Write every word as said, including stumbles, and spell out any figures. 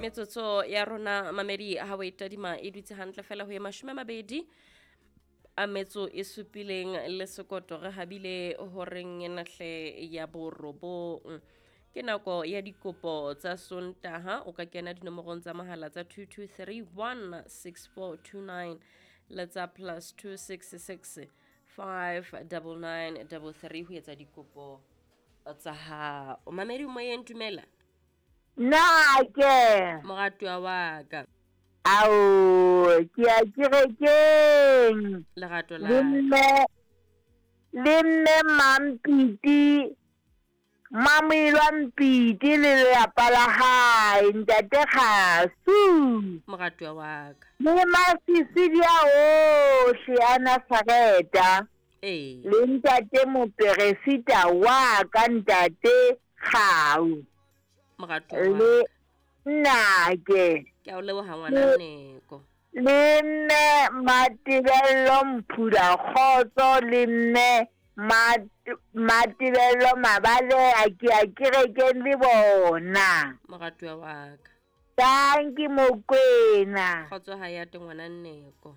Metsotso ya rona mamedi ha o e tadima e dutse hantle fela ho ye mashome a mabedi a metso e supileng le sekoto, re habile horeng ena hle ya borobong. Ke nako ya dikopo tsa Sontaha. O ka kena dinomorong tsa mohala tsa two two three one six four two nine le tsa plus two six six five double nine double three ho etsa dikopo tsa hao. Mamedi moyeng, dumela. Nna ke Moratuwa wa ka. Ao, ke ya kerekeng. Lerato la Le mme, le mme Mampiti, Mamoilwa Mpiti le lelapa la hae, ntate Kgasu. Moratuwa wa ka. Le masisi a ohle a Nazareta. Ee. Le ntate moperesita wa ka, ntate Kgau. Moratuwa wa Le ka. nnake. Ke a o leboha ngwana Nneko. Le mme Matebello Mphula Kgotso le mme Mat-, Matebello Mabaleha, ke ya kerekeng le bona. Moratuwa wa ka. Tanki Mokwena. Kgotso ha ya te ngwana Nneko.